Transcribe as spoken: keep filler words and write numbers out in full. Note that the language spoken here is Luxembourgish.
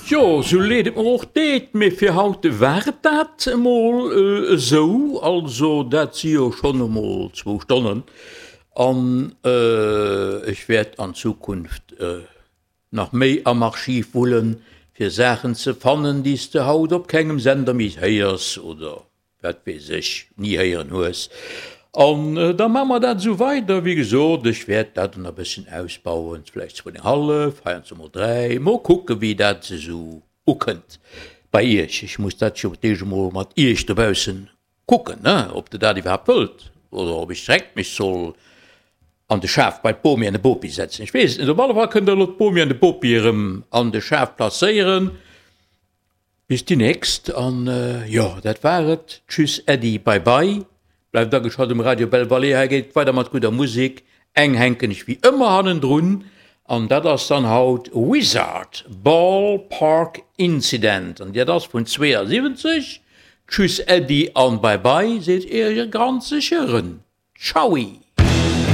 Jo, sou leed et mer och deet, mee fir haut war et dat emol esou. Also dat si jo schonn emol zwou Stonnen an ech wäert an Zukunft nach méi am Archiv wullen, fir Saachen ze fannen, déi s de haut op kengem Sender méi héiers oder wat weess ech, ni héieren hues. An da maache mer dat esou weider. Wéi gesot, ech wäert dat dann e bësschen ausbauen, vläicht zwou an eng hallef, heiansdo mol dräi, mol kucke wéi dat esou ukënnt bei iech. Ech muss dat jo d'éischt emol mat iech dobaussen kucken, ne, ob der dat iwwerhaapt wëllt oder ob ech direkt mech soll an de Schaf bei d'Bomi an de Bopi setzen. Ech weess et net. Op alle Fall kënnt der elo d'Bomi an de Bopi erëm an de Schaf placéieren. Bis déi nächst an jo, dat war et. Tschüss, Äddi, bye bye. Bleift ageschalt um Radio Belle Vallée, hei geet et weider mat gudder Musek. Eng hänken ech wéi ëmmer hannendrun an dat ass dann haut Wizard, Ball Park Incident an dat ass vun zweeënsiwwenzeg. Tschüss, Äddi an bye bye seet Äre granzege Rën. Tschaui!